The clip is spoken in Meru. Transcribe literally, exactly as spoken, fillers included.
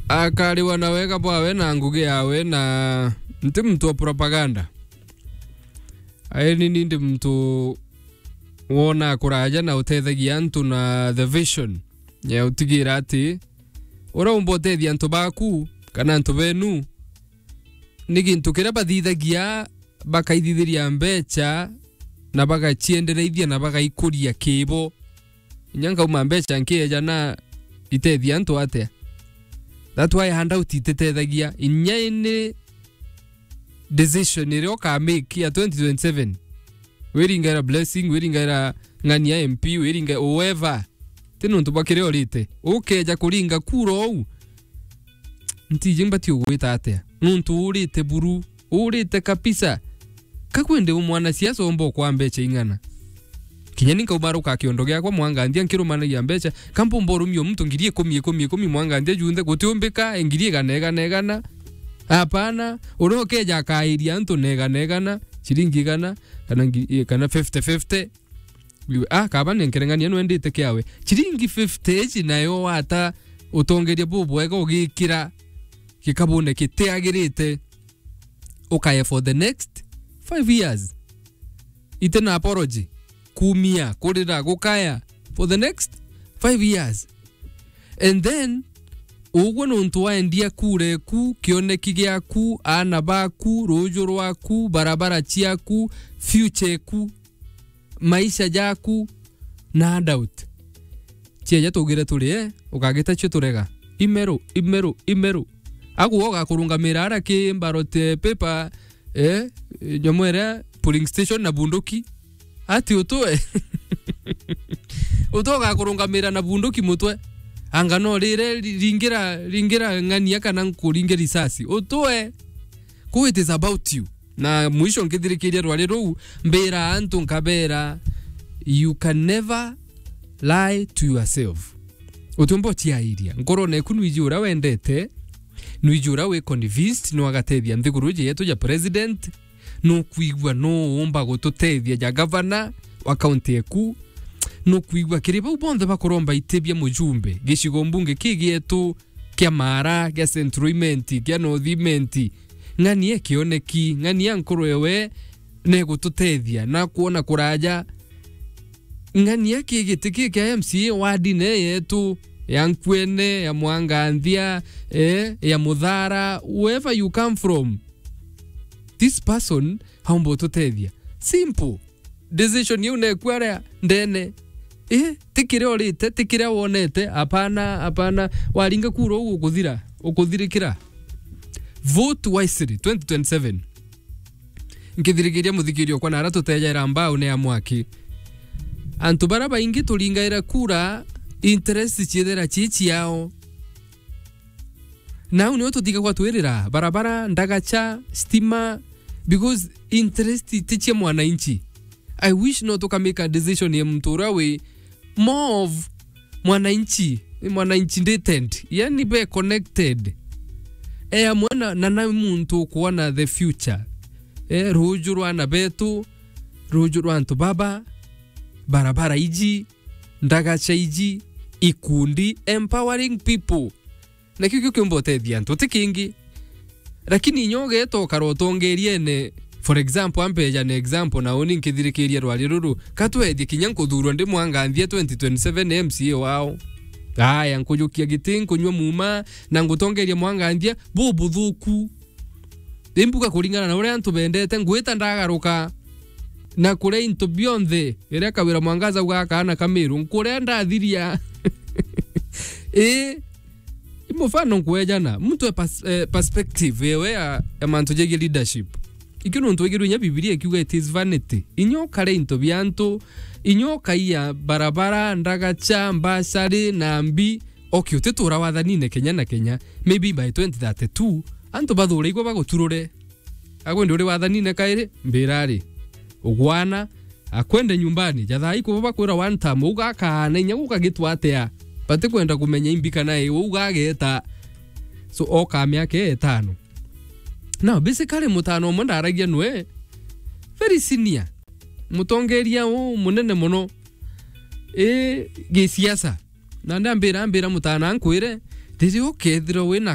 akariwa na wega bwawe na ngugi yawe, na nti muntu wa propaganda. Aeni ni ndi muntu wona kuraja na utethagia antu na the vision ya utigira ati uraumba utethia antu baku kana antu benu, ni gintu kiria bathithagia, bakaithithiria mbecha na bagaciendereithia na bagaikuria kibo. Inya nkauma mbecha nkieja na itethia antu atia? That why handout ititethagia. Inya ini decision iria ukamake ya twenty twenty-seven, wiringaira blessing, wiringaira ng'ania M P, wiringa whoever, ti nontu bwa kiria urite. Ukeja kuringa kura ou, ntiji mbati ugwita atia? Nontu urite buru, urite kabisa. Ka kwende u mwanasiasa umba ukwa mbecha ing'ana? Kinya ni nkaumaruka kiondo giakwa mwanganthia nkirumanagia mbecha, ka mpumba urumia muntu ngiri ikumi, ikumi, ikumi mwanganthia junthe, gutiumbika, ngiri igana, igana, igana. Hapana, uria ukeja akairia antu na igana, igana, ciringi igana, kana ngi-, kana fifty fifty. Iwe, ah, kaba ni nkereng'ania nwendete kiawe. Ciringi fifty ici nayo wata utongeria bubwega ugikira gikabune kitiagirite, ukaye for the next five years. Ite na apology, kumia, kurira, gukaya for the next five years. And then, ugwe nontu waendia kura eku, kioneki giaku, aana baku, ruju rwaku, barabara ciaku, future eku, maisha jaku, na doubt. Cieja tugire turi, eh, ukagita cio turega. Imeru, imeru, imeru. Agu ugakurungamira ara ki ballot, eh, paper, eh, nyomo iria polling station na bunduki. Ati utwe? Utwe ugakurungamira na bunduki mutwe? Anga no rire ri-, ringira, ringira ng'ania kana nkuringe risasi? Utwe? Ku it is about you. Na mwisho nkithirikiria rwari ruu, mbira antu nkabera, you can never lie to yourself. Utiumba uciairia. Nkorone eku nwiji uria wendete, nwiji uria wi convinced no agatethia nthiguru iji yetu ja president, nukwigua no uumba gututethia ja gavana wa kaunti eku, nukwigua kiri bau bonthe bakuromba iti bia mujumbe gicigo mbunge ki gietu kia Maara, kia Central Imenti, kia North Imenti, ng'ania kioneki, ng'ania nkuru ewe negututethia na kwona kuraja, ng'ania ki giti ki kia M C A ward ne yetu, ya Nkuene, ya Mwanganthia, eh, ya Muthara, wherever you come from. This person aumba ututethia. Simple. Decision iu neku aria ndene. Eh, ti kiria urite, ti kiria wonete, apana, apana. Waringa kura uu ukuthira, ukuthirikira. Vote wisely, twenty twenty-seven. Nkithirikiria muthikirio kwa nara tutejaira mbao ni ya mwaki. Antu bara baingi turingaira kura, interest ciithira ci ciao. Nau nio tutigagwa twirira, barabara, ndagacha, stima, because interest ti cia mwananchi. I wish no tuka make a decision ya muntu uria wi more of mwananchi, mwananchi nditend, yani be connected. E amwe na, na, na muntu ukuona the future. E, ruju rwa ana betu, ruju rwa antu baba, barabara iji, ndagacha iji, ikundi, empowering people. Na kiu kiu kiumba utethia antu, ti kingi. Lakini inya ugeeta ukara utongeriene, for example, ampeja na example, na uni nkithirikiria rwari ruru, ka twethie kinya nkuthurwa ndi Mwanganthia twenty twenty-seven M C A wao. Aya, nkujukia giti, nkunywa muma, na ngutongeria Mwanganthia bubuthuku. Imbuga kuringana na uria antu bendete, ngwita ndagaruka na kuria into bionthe, iria Kawira Mwangaza auga akaana Kamiru, nkuria ndathiria. Ii, i mufano nkwejana, muntu e pers-, eh, perspective yewe ya, ya mantu jegie leadership. Ikio nontu wigirwe inya Bibilia ikiuga it is vanity. Inya ukare into bia antu, inya ukaiya barabara, ndagacha, mbacari, na mbi, okay, utitura wathanine Kenya na Kenya. Maybe by twenty thirty-two, antu bathure igwe baguturure. Agwe ndi uri wathanine kairi, mbira ri. Ugwana, akwende nyumbani, ja thaa ikubu bakwira one time, ugakana inya gukagitwa atia. Batikwenda kumenya imbi kana i, ugageta. So, oka miaka itano. Now, basically, mutano umwe ndaragia nwe, very senior. Mutongeria u munene muno. I, gisiasa. Na ndambira, ambira mutana nkwire, riria ukethirwa wina